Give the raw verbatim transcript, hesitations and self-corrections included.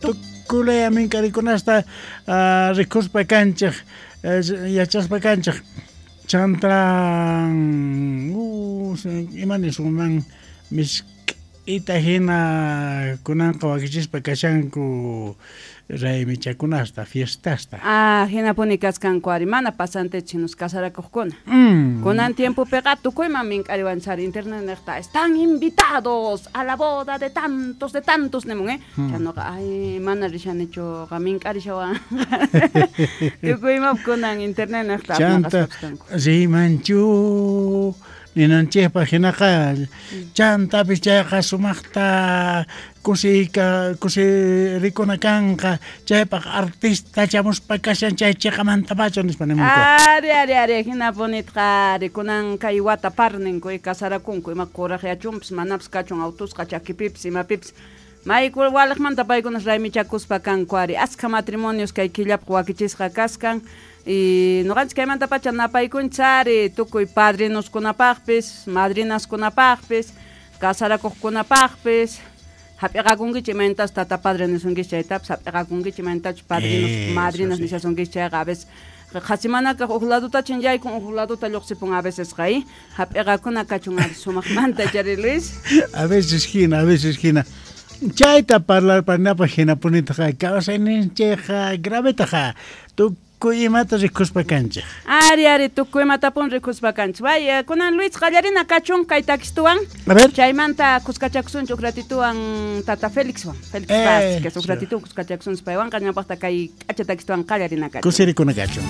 Tukulaya mink'arikunasta rikuspa kanchej, yachaspa kanchej. Chanta ima nisunman misk'ita hina kunanqa wakichispa kashanku raymichakunasta, fiestasta. Ah, hinapuni kaskanku ari, mana pasantechu hinus casarakuqkuna. Mm. Kunan tiempopiqa tukuyman mink'ariwanchari internet niqta, están invitados a la boda de tantos, de tantos nimun, eh. Hmm. Chaynuqa, ay, mana rishanichu, mink'arishawan. Tukuymap kunan internet niqta Chanta rimanchu ninanchikpaq hinaqa, chantapis chayqa sumaqta kusiyka kusirikuna kanqa, chaypaq artista chamuspa kashan chay chiqamantapacha nispa nimunku. Ari, ari, ari, hinapunitqa ari, kunan kay wata parninku kasarakunku, ima kuraqyachunpis manapis kachun autusqa chakipipis imapipis. Mayku waliqmanta paykunas raymichakuspa kanku ari, askha matrimonios kay killapaq wakichisqa kaskan. Y noqanchis kaymantapacha napaykunchis ari tukuy padrinoskunapaqpis, madrinaskunapaqpis, casarakuqkunapaqpis. Hap'iqakunkichik imaynatachus tata padre nisunkichik chaytapis, hap'iqakunkichik imaynatachus padrinos, Eso madrinas sí. nishasunkichik chayqa a veces qhasimanakaq uj ladutachin yaykun, uj laduta lluqsipun a veces qa, ¿eh? Hap'iqakuna kachun ari sumaqmanta chari Luis. A veces hina, a veces hina. Chayta parlarpanapaq hinapunitaqa kawsayninchikqa gravetaqa tukuy imata rikuspa kanchik. Ari, ari, tukuy imatapun rikuspa kanchik. Vaya, kunan Luis qallarina kachun kay takistuwan. A ver. Chaymanta kuskachakusunchik uj ratituwan tata Felixwan. Felix Eh, Vázquez, uj sí. ratituwan kuskachakusunchik paywanqa ñawpaqta kay k'acha takistuwan qallarina kachun. Kusirikuna kachun.